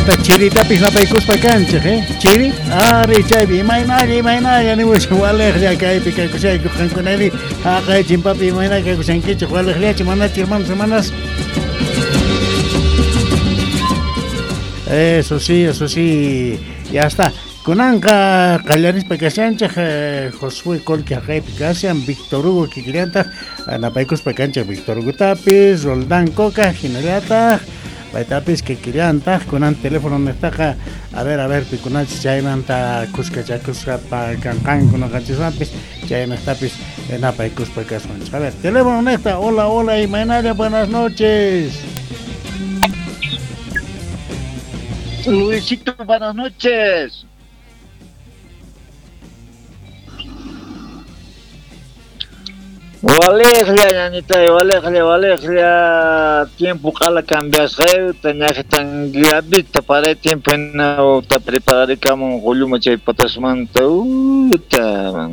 Chanta chiritapis napaykuspa kanchik, eh? Chiri? Ari chaypi imaynalla imaynalla nimuchan waliqlla kaypi kakushayku qankunari haqay chimpapi imayna kakushankichik waliqllachu manachu hermanos hermanas. Eso sí, eso sí. Ya está. Kunanqa qallarispa kashanchik Josué Colque haqaypi kashan, Víctor Hugo kikillantaq napaykuspa kanchik Víctor Hugotapis, Roldán Coca hinallataq paytapis kikillantaq kunan teléfono niqtaqa a ver pikunachis chaymanta kuskachakuspa kanqanku noqanchiswanpis chayniqtapis napaykuspa kasunchik. A ver, teléfono niqta, hola, hola, imaynalla, buenas noches. Luisito, buenas noches. Waliqlla, ñañitay, waliqlla, waliqlla, tiempo qala cambiasqayta, ñaqitan gabita para tiempo ta prepararikamun qulluma chay patasmanta, uta,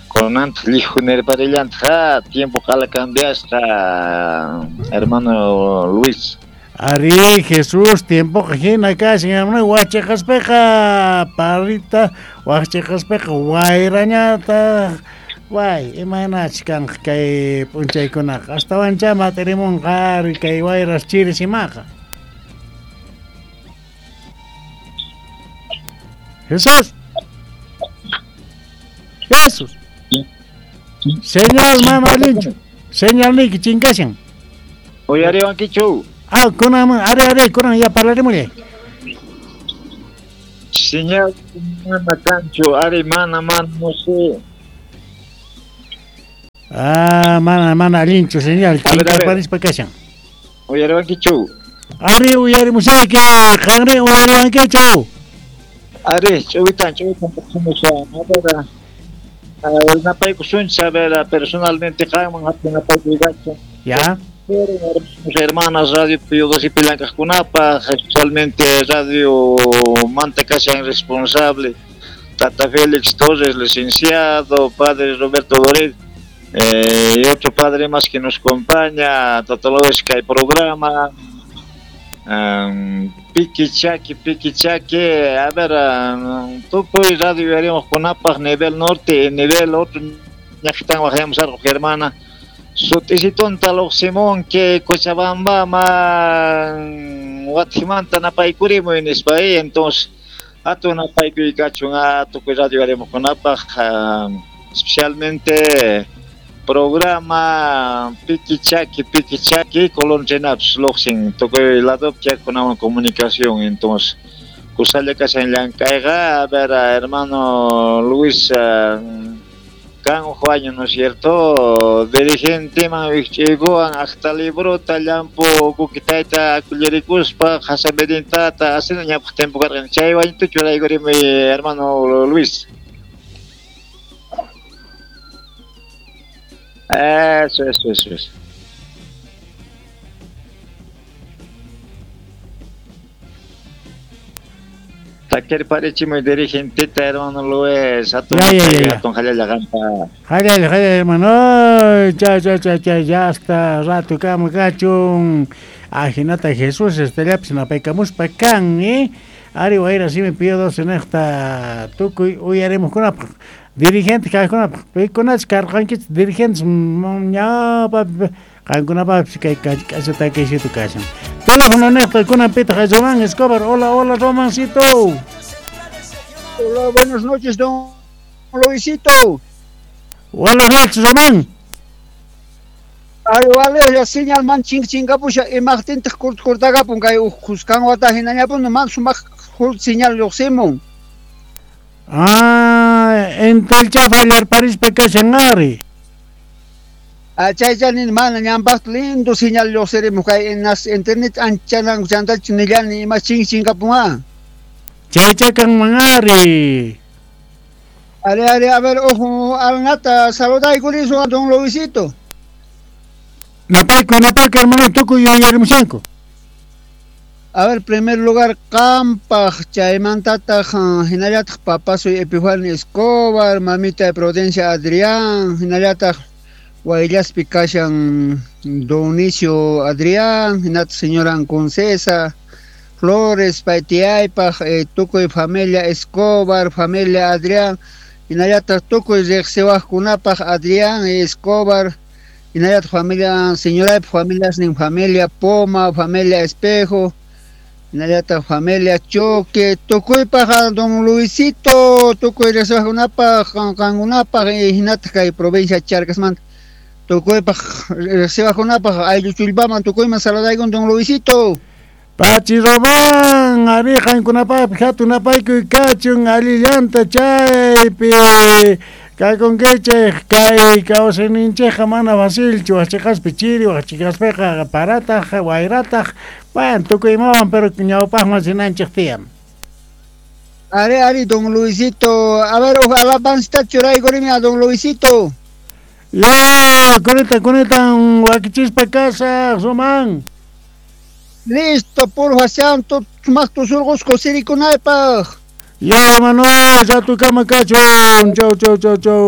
kunantaq llijunirparillantaq, tiempo qala cambiasqa, hermano Luis. Ari, Jesús, tiempo hina kashan, wachiqaspiqa parrita, wachiqaspiqa wayrañataq. Way, imaynachus kanqa kay p'unchaykunaqa astawanchá mat'irimunqa ari kay wayras chiris imaqa. Jesús. Jesús. Señal mana allinchu. Señalniyki chinkashan. Uyariwankichu. Ah, kunan ari ari kunan ya parlarimullay. Señal mana kanchu, ari mana mana no sé. Ah, mana mana allinchu señal chinkarparispa kashan. Uyariwankichu. Ari uyarimusayki, qanri uyariwankichu. Ari, ch'uwitan ch'uwitan puqsimushan. A ver, napaykusunchis, a ver, personalmente qanman hatun napaykuykachu. Ya. Hermanos, hermanas, Radio Pío XII Pilancajkunapaq, especialmente Radio Manta kashan responsable, Tata Félix Torres, licenciado, padre Roberto Doret, y otro padre más que nos acompaña, Tata López, que hay programa, Piqui Chaki, Piqui Chaki, a ver, tukuy radio haremos con APAG, nivel norte, nivel otro, ñaqitan wajayamos algo, hermana, sut'isitunta Simón que Cochabamba man Guatemala napaykurimuy nispa, entonces hatun napaykuykachu tukuy radio haremos con APAG, especialmente programa Piqui Chaki, Piqui Chaki, Colón Chenaps, Loxin, tukuy lado kunawan comunicación, entonces kusalla kashan llank'ayqa, a ver, hermano Luis, kan año, ¿no es cierto? Dirigente man wich'iykuwan aqta librota llampu kukitayta akullarikuspa hasamedintata asina ñawpaq tiempo karqan chay wañutu churaykurimi, hermano Luis. Eso, eso, eso, eso. Taquer parechimo dirigentita, hermano Luis. Atun, ya. Atun jalalla qampa. Jalalla, jalalla, hermano. Ya, ya, ya, ya, ya hasta rato kama kachun. Ajinata Jesús, estellapis napaykamuspa kan, eh. Ari wayra simi Pío XII niqta tukuy uyarimuqkunapaq. Dirigente kaqkunapaq, pikunachus karqankichik dirigentes ñawpa qankunapaqpis kay k'acha takaysitu kashan. Teléfono niqta kunan pitaq Román Escobar. Hola, hola, Romancito. Hola, buenas noches, don Luisito. Buenas noches, Román. Ay, vale, la señal man ching chingapusha imaqtintaq kurtagapun kay uq wata hinañapun man sumaq señal lluqsimun. Ah, entelcha fallarparispa kashan ari. Ah, chaycha nin mana ñanpaq lindo señal lluqsirimuq kay nas internet anchanan chantach nillani ima ching chingapun. Chaycha kanman ari. Ari, ari, a ver, ojo, alnata saludaykulisun don Luisito. Napayku, napayku, hermano, tukuy yuyarimushanku. A ver, primer lugar, qampaq, chaymantataq hinallataq papasuy Epifanio Escobar, mamita Prudencia Adrián, hinallataq Wayllaspi kashan Donicio Adrián, hinataq señora Concesa, Flores pay tiyaypaq tukuy familia Escobar, familia Adrián, hinallataq tukuy riqsiwaqkunapaq Adrián Escobar, hinallataq familia señoraypaq familiasnin familia Poma, familia Espejo, hinallataq familia Choque, tukuypaq don Luisito, tukuy riqsiwaqkunapaq qankunapaq hinataq kay provincia Charcasmanta tukuypaq riqsiwaqkunapaq ayllu chullpaman tukuyman saludaykun don Luisito. Pachi Román, ari qankunapaqpi hatun napaykuy kachun allillanta chaypi kakunkichik kay kawsayninchikqa mana facilchu waqchiqaspi chiri waqchiqaspiqa parataq wayrataq bueno tukuy imawan pero ñawpaqman rinanchik tiyan. Ari ari don Luisito, a ver alabanzita churaykurimi a don Luisito. Ya, kunitan wakichispa kasaq Román. Listo, porfa, santo, sumaq tusurqusqa sirikunaypaq. Ya, Manuel, ratukama kachun. Chau, chau, chau, chau.